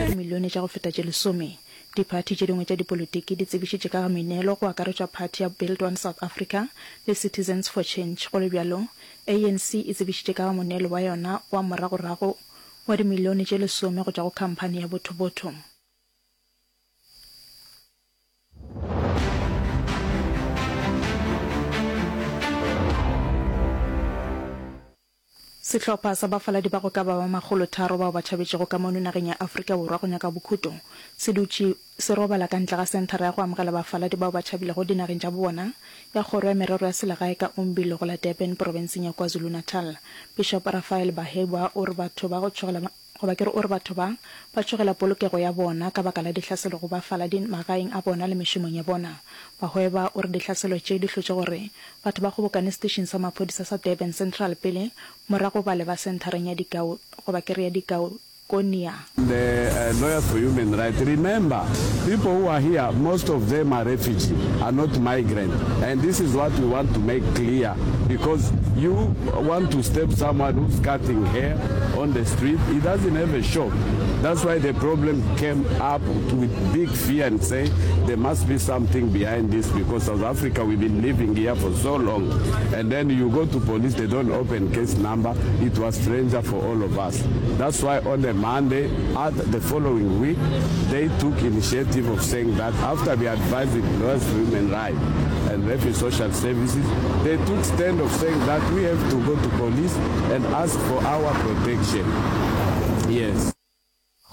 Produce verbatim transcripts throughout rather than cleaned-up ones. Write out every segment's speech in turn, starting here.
dimilione tša go feta tše lesome. Diphathi tše dingwe tša dipolotiki di tsebišitše ka ga meneelo go akaretšwa phathi ya Build One South Africa le Citizens for Change. Go le bjalo, ANC e tsebišitše ka ga moneelo wa yona wa moragorago wa dimilione tše lesome go tšwa go khamphani ya Botho Botho. Sehlopha sa bafaladi ba go ka ba ba makgolotharo bao ba tšhabetšego ka mono nageng ya Afrika Borwa go nyaka bokhuto se dutše se robala ka ntle ga senthara ya go amogela bafaladi bao ba tšhabilego dinageng tša bobona ya Kgoro ya Merero ya Selegae ka Umbilo go la Durban profenseng ya KwaZulu-Natal. Bishop Raphael Bahebwa o re batho ba go tšhogela Goba ke re o re batho ba, ba tšhogela polokego ya bona ka baka la dihlaselo go bafaladi magaeng a bona le mešomong ya bona. Bahweba o re dihlaselo tše di hlotše gore batho ba kgobokane setešing sa maphodisa sa Durban Central pele, morago ba leba senthareng ya dikao goba ke re ya dikaokonia. The Lawyers for Human Rights, remember people who are here most of them are refugee are not migrant and this is what we want to make clear because you want to step someone who's cutting hair on the street he doesn't have a shop that's why the problem came up with big fear and say there must be something behind this because South Africa we've been living here for so long and then you go to police they don't open case number it was stranger for all of us that's why on the Monday at the following week they took initiative of saying that after we advised the lawyers for human rights and refugee social services they took stand of saying that we have to go to police and ask for our protection yes.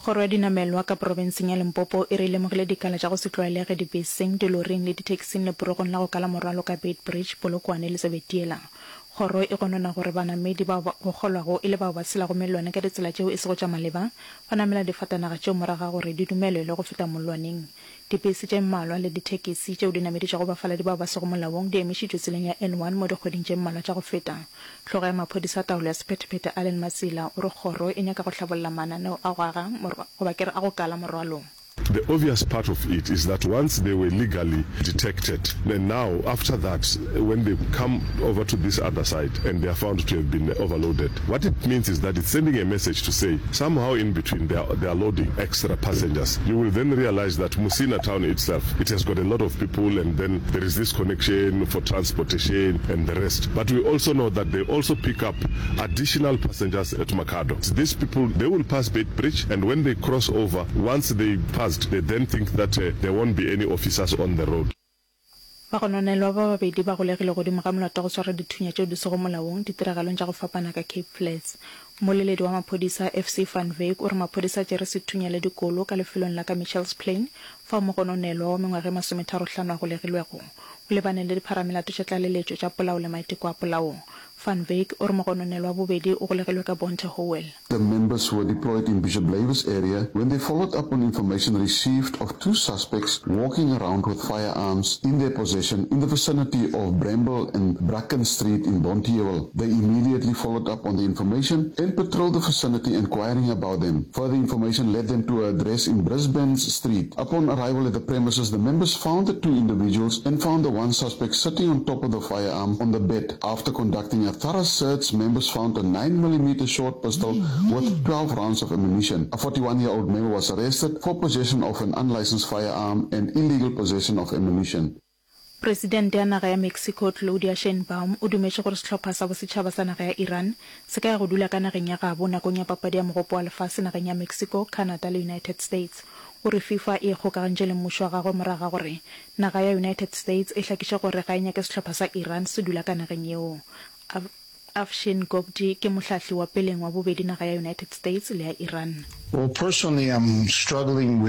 Kgoro ya dinamelwa ka profenseng ya Limpopo e re e lemogile dikala tša go se tlwaelege dibeseng, diloring le dithekising leporogong la go kala morwalo ka Beitbridge, Polokwane le Zebediela. Kgoro e gonona gore banamedi bao go kgolwago e le bao ba tshelago mellwane ka ditsela tšeo e sego tša maleba ba namela difatanaga tšeo morago ga gore di dumelelwe go feta mollwaneng. Dipese tše mmalwa le dithekisi tšeo di nameditšego bafaladi bao ba sego molaong di emišitšwe tseleng ya N one mo dikgweding tše mmalwa tša go feta. Hlogo ya maphodisa a taolo ya sephethephethe Allen Matsila o re kgoro e nyaka go hlabolla mananeo a go aga goba ke re a go kala morwalo. The obvious part of it is that once they were legally detected, then now after that when they come over to this other side and they are found to have been overloaded, what it means is that it's sending a message to say somehow in between they are, they are loading extra passengers. You will then realize that Musina town itself, it has got a lot of people and then there is this connection for transportation and the rest. But we also know that they also pick up additional passengers at Makhado. These people, they will pass Beitbridge and when they cross over, once they passed, they then think that uh, there won't be any officers on the road. Bagononelwa ba babedi ba golegilwe godimo ga molato wa go swara dithunya tšeo di sego molaong ditiragalong tša go fapana ka Cape Flats. Mmoleledi wa maphodisa FC Van Wyk o re maphodisa a tšere sethunya le dikolo ka lefelong la ka Mitchells Plain fao mogononelwa wa mengwaga e masometharo-hlano a golegilwego. O lebane le dipharamelato tša tlaleletšo tša polao le maiteko a polao. Van Wyk o re mogononelwa wa bobedi o golegilwe ka Bonteheuwel. The members were deployed in Bishop Lavis area when they followed up on information received of two suspects walking around with firearms in their possession in the vicinity of Bramble and Bracken Street in Bonteheuwel. They immediately followed up on the information and patrolled the vicinity inquiring about them. Further information led them to an address in Brisbane Street. Upon arrival at the premises, the members found the two individuals and found the one suspect sitting on top of the firearm on the bed. After conducting a thorough search, members found a nine millimeter short pistol with twelve rounds of ammunition. A forty-one year old male was arrested for possession of an unlicensed firearm and illegal possession of ammunition. Presidente ya naga ya Mexico Claudia Sheinbaum o dumetše gore sehlopha sa bosetšhaba sa naga ya Iran se ka ya go dula ka nageng ya gabo nakong ya papadi ya Mogopo wa Lefase nageng ya Mexico, Canada le United States. O re FIFA e ikgokagantše le mmušo wa gagwe morago ga gore naga ya United States e hlakiše gore ga e nyake sehlopha sa Iran se dula ka nageng yeo. Afshin Ghobdi ke mohlahli wa peleng wa bobedi naga ya United States le ya Iran. Well, personally, I'm struggling with